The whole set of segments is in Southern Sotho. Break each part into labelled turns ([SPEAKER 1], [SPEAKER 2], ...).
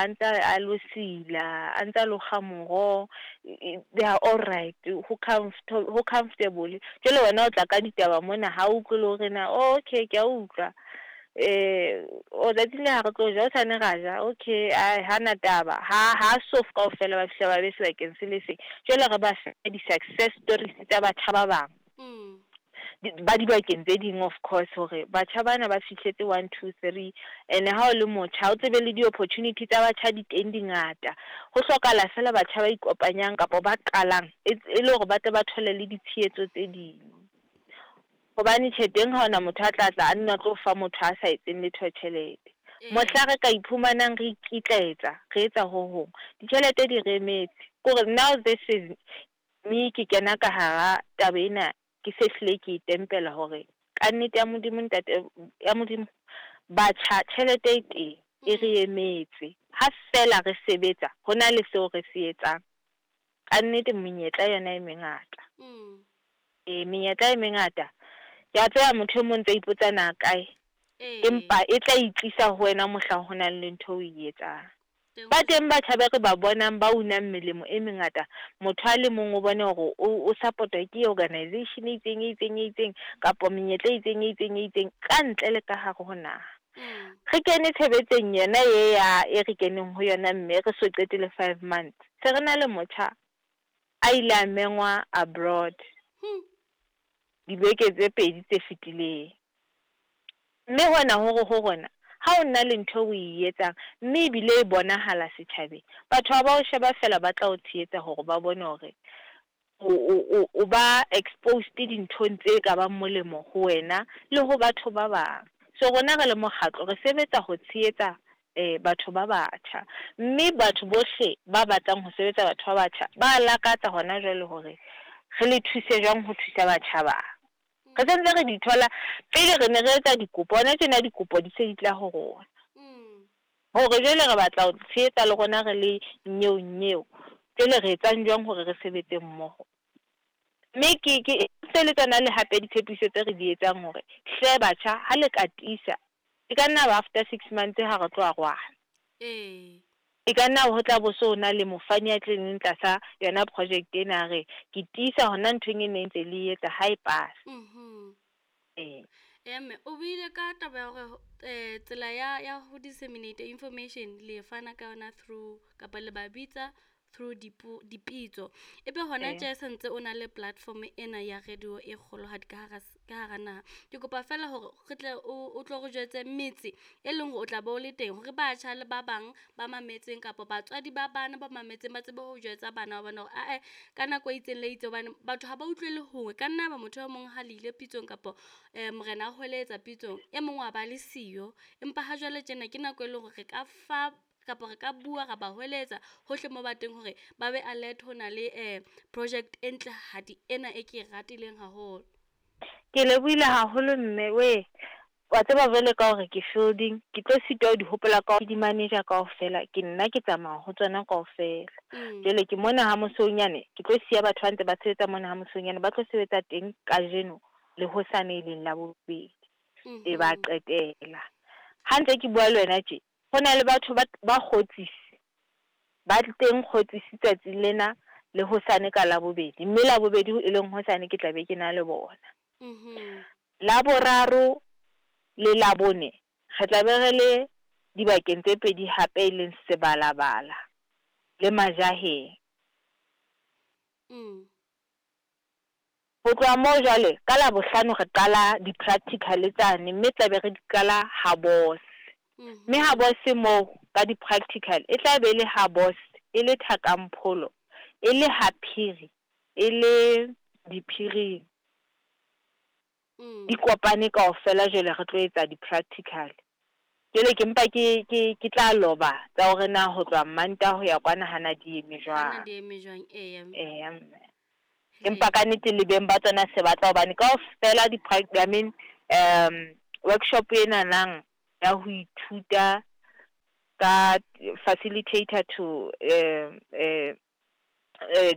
[SPEAKER 1] A ntse a lo sila, a ntse a lo kga moroho, they are all right, ho ho comfortable. Jwale wena o tla ka ditaba mona ha o utlwe le hore na, oh okay ke a utlwa. Oh tsatsing le ha re tlo ja, hosane ra ja, okay ae hana taba. Ha ha so kaofela ba fihla ba be sebakeng se le seng. Jwale re ba fe di-success stories tsa batjha ba bang. Ba dibakeng tse ding of course hore batjha bana ba fihletse 1 2 3, ene ha o le motjha o tsebe le di-opportunity tsa batjha di teng di ngata. Ho hlokahala fela batjha ba ikopanyang kapa ba qalang e le hore ba tle ba thole le ditshehetso tse ding. Hobane tjhe teng ha hona motho a tla tla a nna tlo fa motho a sa etseng letho tjhelete. Mohla re ka iphumanang re ikitlaetsa re etsa ho hong, ditjhelete di re emetse. Kore now this is me, ke kena ka hara taba ena, ke se hlile ke e tempela hore ka nnete ya Modimo, ntate ya Modimo, batjha tjhelete e teng e re emetse. Ha fela re sebetsa ho na le seo re se etsang, ka nnete menyetla yona e mengata. Menyetla e mengata. Ke a tseba motho e mong ntse ipotsa na kae, empa e tla itlisa ho wena mohlang ho nang le ntho o e etsang. Ba teng batjha ba re ba bonang ba unang melemo e mengata. Motho a le mong o bone hore o support-wa ke organization e itseng e itseng e itseng, kapa menyetla e itseng e itseng e itseng ka ntle le ka hare ho naha. Re kene tshebetsong yona e ya e re keneng ho yona, mme re so qete le 5 months. Se re na le motjha a ile a mengwa abroad dibeke tse pedi tse fetileng. Mme hona hore ho rona ha o nna le ntho o e etsang mme ebile e bonahala setjhabeng, batho ha ba o sheba fela, ba tla o tshehetsa hore ba bone hore o ba exposed dinthong tse ka bang molemo ho wena le ho batho ba bang. So rona re le mokgatlo re sebetsa ho tshehetsa batho ba batjha, mme batho bohle ba batlang ho sebetsa batho ba batjha ba lakatsa hona jwale hore re le thuse jwang ho thusa batjha ba. Re sentse re di thola, pele re ne re etsa dikopo, hona tjena dikopo di se di tla ho rona. Hore jwale re batla ho tshehetsa le rona re le nyeo nyeo, jwale re etsang jwang hore re sebetse mmoho. Mme ke se le tsona le hape ditshepiso tse re di etsang hore hle batjha ha le ka tiisa, e ka nna ba after 6 months ha re tlo arohana. E ka nna ho tla bo so na le mofani a tleng tlasa yona project ena, re ke tiisa hona nthong e ne ntse le etsa ha e pass.
[SPEAKER 2] Mme o buile ka taba ya hore tsela ya ho disseminate information le fana ka yona through kapa le ba bitsa through dipitso. Ebe hona tje sentse o na le platform ena ya radio e kgolohadi ka hara naha. Ke kopa fela hore re tle o tlo re jwetse metse e leng hore o tla be o le teng, hore batjha le ba bang ba mametseng kapa batswadi ba bana ba mametseng ba tsebe ho jwetsa bana ba bona hore ae ka nako e itseng le itse, hobane batho ha ba utlwele hongwe. Ka nna ba motho e mong ha le ile pitsong kapa morena a hweletsa pitsong, e mong wa ba le siyo. Empa ha jwale tjena ke nako e leng hore re ka fa kapa re ka bua ra ba hweletsa hohle mo ba teng hore ba be alert ho na le project e ntlehadi ena e ke e ratileng haholo.
[SPEAKER 1] Ke lebohile haholo mme we. Wa tseba jwale ka hore ke fielding, ke tlo sitwa ho di hopola ka di manager kaofela, ke nna ke tsamaya ho tsona kaofela. Jwale ke mona ha Mosoonyane, ke tlo siya batho ba ntse ba sebetsa mona ha Mosoonyane, ba tlo sebetsa teng kajeno le hosane e leng la bobedi. E ba qetela. Ha ntse ke bua le wena tje, ho na le batho ba kgotsisi, ba teng kgotsisi tsatsi lena le hosane ka labobedi, mme labobedi e leng hosane ke tla be ke na le bona. Laboraro le labone re tla be re le dibakeng tse pedi hape, e leng Sebalabala le Majaheng. Ho tloha moo jwale ka labohlano re qala di-practical tsane, mme tla be re di qala ha Bos. Mme ha Bos moo ka di-practical e tla be le ha Bos, e le Thakampholo, e le ha Phiri, e le Diphiring. Di kopane kaofela jwale re tlo etsa di-practical. Jwale ke mpa ke tla loba tsa hore na ho tloha Mantaha ho ya kwana hana di eme jwang.
[SPEAKER 2] Di eme jwang, eya.
[SPEAKER 1] Eya mme. Empa ka nnete le beng ba tsona se batla hobane kaofela I mean, workshop ena nang ya ho ithuta ka facilitator to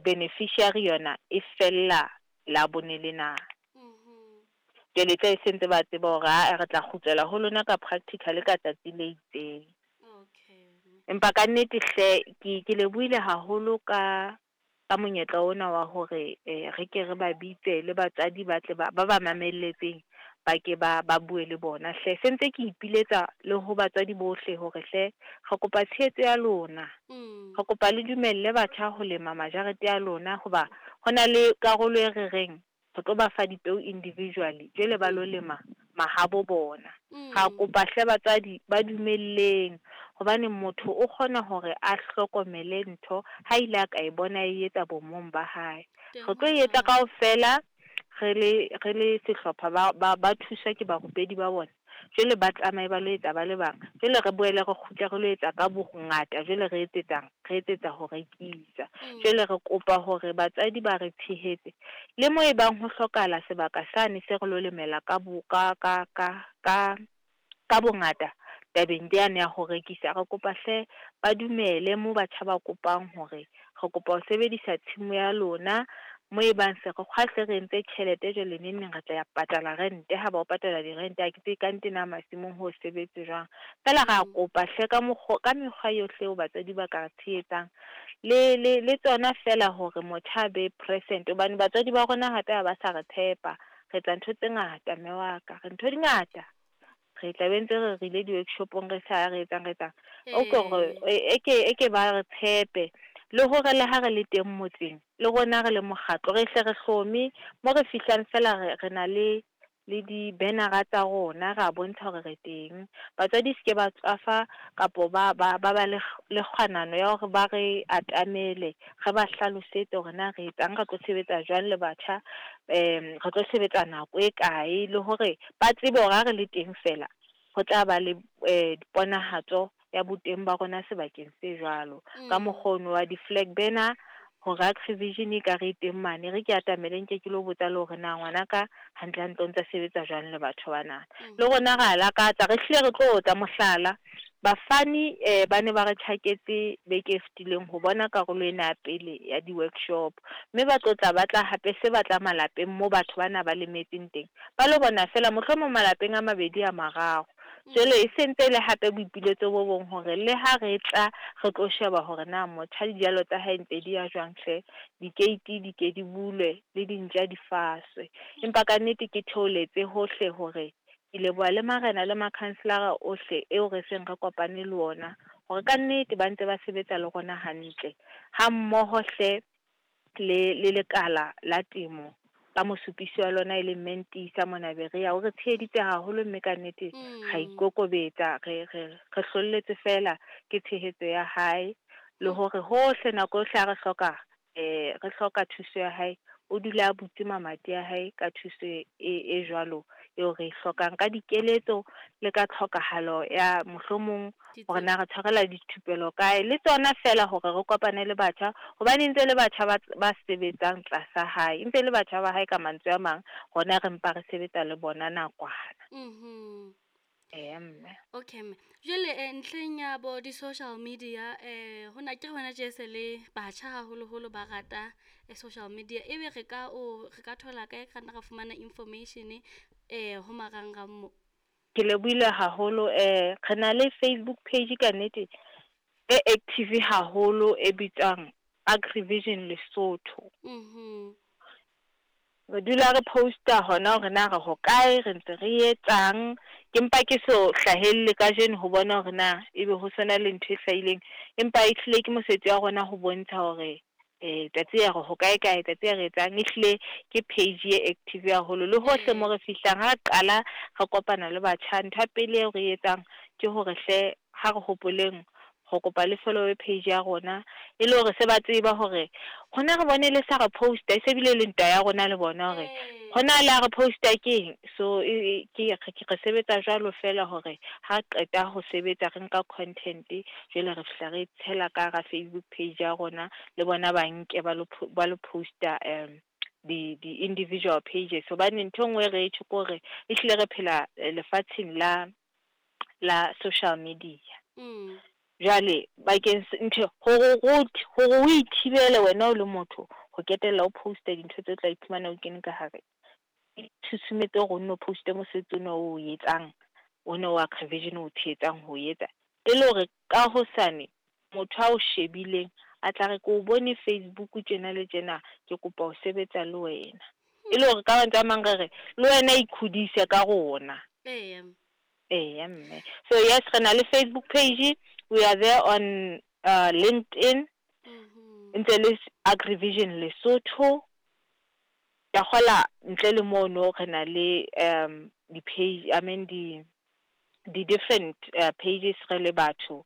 [SPEAKER 1] beneficiary yona e fella labone lena. Jwale tla e sentse ba tseba hore ha re tla kgutlela ho lona ka practical ka tsatsi le itseng.
[SPEAKER 2] Okay.
[SPEAKER 1] Empa ka nnete hle ke lebohile haholo ka monyetla ona wa hore re ke re ba bitse le batswadi ba tle ba ba mamelletseng ba ke ba bue le bona hle. Se ntse ke ipiletsa le ho batswadi bohle hore hle re kopa tshehetso ya lona. Re kopa le dumelle batjha ho lema majarete a lona, hoba ho na le karolo e re reng re tlo ba fa dipeo individually, jwale ba lo lema mahabo bona. Ra kopa hle batswadi ba dumelleng, hobane motho o kgona hore a hlokomele ntho ha ile a ka e bona e etsa bomong ba hae. Re tlo etsa kaofela re le sehlopha ba thuswa ke barupedi ba bona. Jwale ba tsamaye ba lo etsa ba le bang. Jwale re boele re kgutle re lo etsa ka bongata, jwale re etsetsang, re etsetsa ho rekisa. Jwale re kopa hore batswadi ba re tshehetse. Le mo e bang ho hlokahala sebaka sane se re lo lemela ka bongata tabeng yane ya ho rekisa, re kopa hle ba dumele mo batjha ba kopang hore re kopa ho sebedisa tshimo ya lona. Mo e bang se re kgwahle re entse tjhelete jwale neng neng re tla ya patala rente, ha ba o patala dirente ha ke tsebe ka nnete na masimong ho sebetse jwang. Feela ra kopa hle ka mekgwa yohle eo batswadi ba ka re tshehetsang le tsona fela hore motjha a be present, hobane batswadi ba rona hape ha ba sa re tshepa. Re etsa ntho tse ngata mme wa ka, re ntho di ngata. Re tla be ntse re rile di-workshopong re sa re etsang. E ke ba re tshepe. Le hore le ha re le teng motseng, le rona re le mokgatlo, re hle re hlome mo re fihlang fela re na le di-bannera tsa rona, ra bontsha hore re teng. Batswadi se ke ba tswafa kapo ba ba le kgwanano ya hore ba re atamele, re ba hlalosetse hore na re etsang, re tlo sebetsa jwang le batjha, re tlo sebetsa nako e kae, le hore ba tsebe hore ha re le teng fela ho tla ba le diponahatso ya boteng ba rona sebakeng se jwalo. Ka mokgono wa di-flag banner hore Agrivision e ka re teng mane, re ke atamele nke ke lo botsa le hore na ngwanaka hantle hantle o ntsa sebetsa jwang le batho bana. Le rona ra lakatsa, re hlile re tlo tla mohlala. Bafani ba ne ba re tjhaketse beke e fetileng ho bona karolo ena ya pele ya di-workshop, mme ba tlo tla ba tla hape se batla malapeng mo batho bana ba lemetseng teng, ba lo bona fela mohlomong malapeng a mabedi a mararo. Jwale e sentse le hape boipiletso bo bong hore le ha re tla re tlo sheba hore na motjha dijalo tsa hae ntse di ya jwang hle, dikeiti di ke di bulwe le dintja di faswe. Empa ka nnete ke theoletse hohle hore ke leboha le marena le makhanselara ohle eo re seng re kopane le ona, hore ka nnete ba ntse ba sebetsa le rona hantle, ha mmoho hle le lekala la temo ka mosupisi wa lona e leng Mentisa mona Berea, o re tsheheditse haholo mme ka nnete ra ikokobetsa, re hlolletse fela ke tshehetso ya hae, le hore hohle nako yohle ha re hloka thuso ya hae, o dula a butse mamati a hae ka thuso e jwalo eo re e hlokang, ka dikeletso le ka tlhokahalo ya mohlomong hore na re tshwarela dithupelo kae, le tsona fela hore re kopane le batjha, hobane ntse le batjha ba sebetsang tlasa hae, ntse le batjha ba hae ka mantswe a mang, rona re mpa re sebetsa le bona nakwana. Mme.
[SPEAKER 2] Okay mme. Jwale ntlheng ya bo di-social media, hona ke hona tje se le batjha haholoholo ba rata social media, ebe re ka thola kae, ka nna ra fumana information ho marangrang mo?
[SPEAKER 1] Ke lebohile haholo. Re na le Facebook page ka nnete e active haholo e bitswang Agrivision Lesotho. Re dula re posta hona hore na re hokae, re ntse re etsang. Ke mpa ke so hlahelle kajeno ho bona hore na ebe ho sona le ntho e hlahileng, empa e hlile ke mosebetsi wa rona ho bontsha hore tsatsi ya re hokae kae, tsatsi ya re etsang. E hlile ke page e active haholo le hohle mo re fihlang. Ha re qala re kopana le batjha, ntho ya pele eo re etsang ke hore hle ha re hopoleng ho kopa le follow page ya rona, e le hore se ba tseba hore hona re bone le sa re posta, e se bile le ntwa ya rona le bona hore hona le re posta keng. So ke re sebetsa jwalo fela hore ha qeta ho sebetsa re nka content, jwale re fihla re tshela ka ra Facebook page ya rona, le bona ba nke ba lo posta di individual pages. Hobane ntho e nngwe re tjho ke hore ehlile re phela lefatsheng la social media. Jwale bakeng ntho hore o ithibele wena o le motho ho ketella o posta dintho tse tla iphumana o kene ka hare, tshusumetso hore o nno poste mosebetsi ona o etsang, ona wa Agrivision o tshehetsang ho etsa, E le hore ka hosane motho a o shebileng a tla re, ke o bone Facebook tjena le tjena, ke kopa ho sebetsa le wena. E le hore ka mantswe a mang re re, le wena ikhodise ka rona.
[SPEAKER 2] Eya.
[SPEAKER 1] Eya mme. So yes, re na le Facebook page, we are there on LinkedIn, ntse le Agrivision Lesotho. Ke a kgola ntle le mono re na le di page, I mean di di different pages re le batho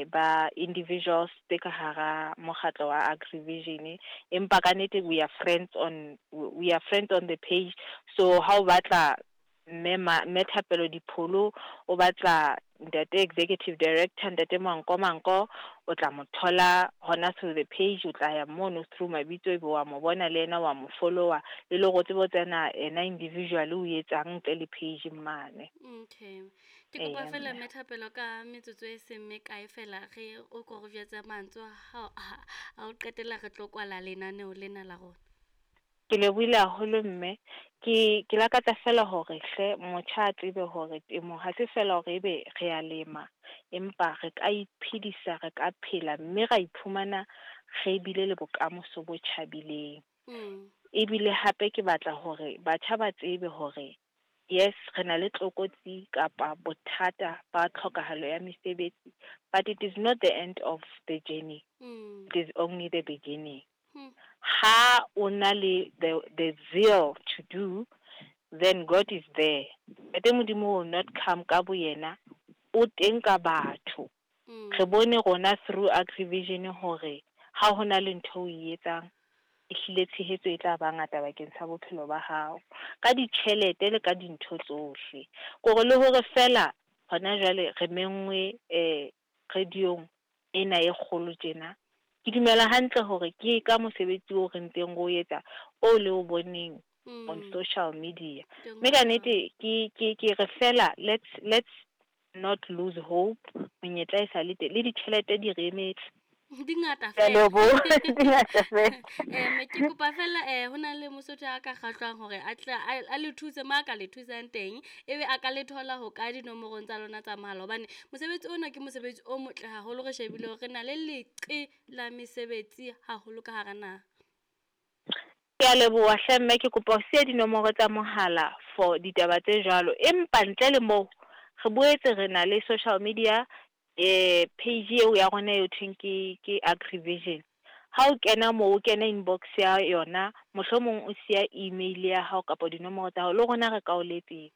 [SPEAKER 1] ba individuals tse ka hara mokgatlo wa Agrivision, empa ka nnete we are friends on, we are friends on the page. So ha o batla mme mme Thapelo Dipholo, o batla ntate executive director ntate Manko Manko, o tla mo thola hona through the page. O tla ya mono through mabitso, ebe wa mo bona le yena, wa mo follower, e le hore o tsebe ho tsena ena individual o etsang ntle le page mane.
[SPEAKER 2] Okay. Ke kopa fela mme Thapelo ka metsotso e seng mekae fela re o ko re jwetse mantswe a a o qetela, re tlo kwala lenaneo lena la rona.
[SPEAKER 1] Ke lebohile haholo mme. Ke lakatsa fela hore hle motjha a tsebe hore temo ha se fela hore ebe re a lema, empa re ka iphedisa, re ka phela, mme ra iphumana re bile le bokamoso bo tjhabileng. Ebile hape ke batla hore batjha ba tsebe hore yes, re na le tlokotsi kapa bothata ba tlhokahalo ya mesebetsi, but it is not the end of the journey. It is only the beginning. Ha o na le the zeal to do, then God is there. Ntate Modimo will not come ka boyena, o teng ka batho. Re bone rona through Agrivision hore ha hona le ntho o e etsang, ehlile tshehetso e tla ba ngata bakeng sa bophelo ba hao, ka ditjhelete le ka dintho tsohle. Kore le hore fela hona jwale re menngwe radiong ena e kgolo tjena, ke dumela hantle hore ke ka mosebetsi oo re ntseng re o etsa, o le o boneng on social media. Mme ka nnete ke re fela let's not lose hope. Monyetla e sa le teng, le ditjhelete di re emetse.
[SPEAKER 2] Di ngata
[SPEAKER 1] Ke a
[SPEAKER 2] fela.
[SPEAKER 1] leboha. Di ngata fela.
[SPEAKER 2] Me ke kopa fela ho na le Mosotho a ka kgahlwang hore a tla a le thuse mo a ka le thusang teng, ebe a ka le thola ho kae dinomorong tsa lona tsa mohala, hobane mosebetsi ona ke mosebetsi o motle haholo, re shebile hore re na le leqe la mesebetsi haholo ka hara naha.
[SPEAKER 1] Ke a leboha hle mme, ke kopa ho siya dinomoro tsa mohala for ditaba tse jwalo, empa ntle le moo re boetse re na le social media page eo ya rona e thweng ke Agrivision. Ha o kena moo, o kena inbox ya yona, mohlomong o siya email ya hao kapa dinomoro tsa hao, le rona re ka o letsetsa.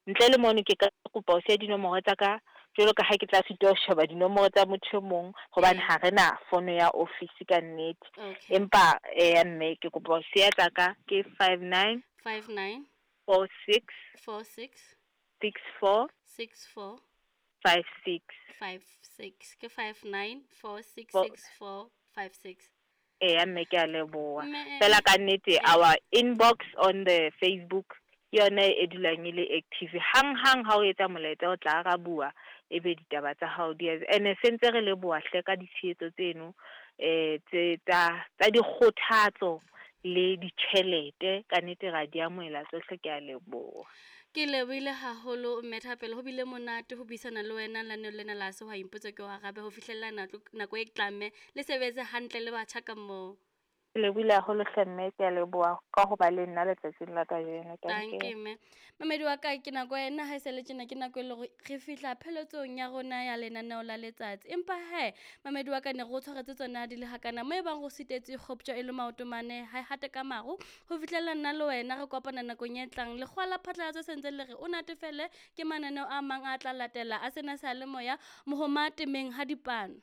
[SPEAKER 1] Ntle le mono ke ka kopa ho siya dinomoro tsa ka, jwalo ka ha ke tla sitwa ho sheba dinomoro tsa motho e mong, hobane ha re na fono ya office ka nnete. Empa mme ke kopa ho siya tsa ka, ke 59
[SPEAKER 2] 59
[SPEAKER 1] 46
[SPEAKER 2] 46
[SPEAKER 1] 64
[SPEAKER 2] 64
[SPEAKER 1] 56.
[SPEAKER 2] 56. Ke 59 46 64 56.
[SPEAKER 1] Eya mme, ke a leboha.
[SPEAKER 2] Mme,
[SPEAKER 1] Fela ka nnete our inbox on the Facebook ke yona e dulang e le active. Hang hang ha o etsa molaetsa, o tla arabuwa, ebe ditaba tsa hao di ene sentse re leboha hle ka ditshehetso tseno tse tsa dikgothatso le ditjhelete, ka nnete ra di amohela tsohle, ke a leboha.
[SPEAKER 2] Ke lebohile haholo mme Thapelo, ho bile monate ho buisana le wena lenaneo lena la Sehwai Mpotse Ke O Arabe ho fihlella nako e tlang, mme le sebetse hantle le batjha ka moo.
[SPEAKER 1] Ke lebohile haholo hle mme, ke a leboha ka ho ba le nna letsatsing la kajeno.
[SPEAKER 2] Danke mme. Mamedi wa ka, ke nako ena ha e sa le tjena, ke nako e le hore re fihla pheletsong ya rona ya lenaneo la letsatsi. Empa he, mamedi wa ka, ne re o tshwaretse tsona di le hakana mo e bang go sitetse kgoptjwa e le maoto mane ha e hate ka maru, ho fihlella nna le wena re kopana nakong e tlang. Lekgowa la phatlalatso sentse le re o natefele ke mananeo a mang a tla latela a sena seyalemoya mohoma temeng ha dipano.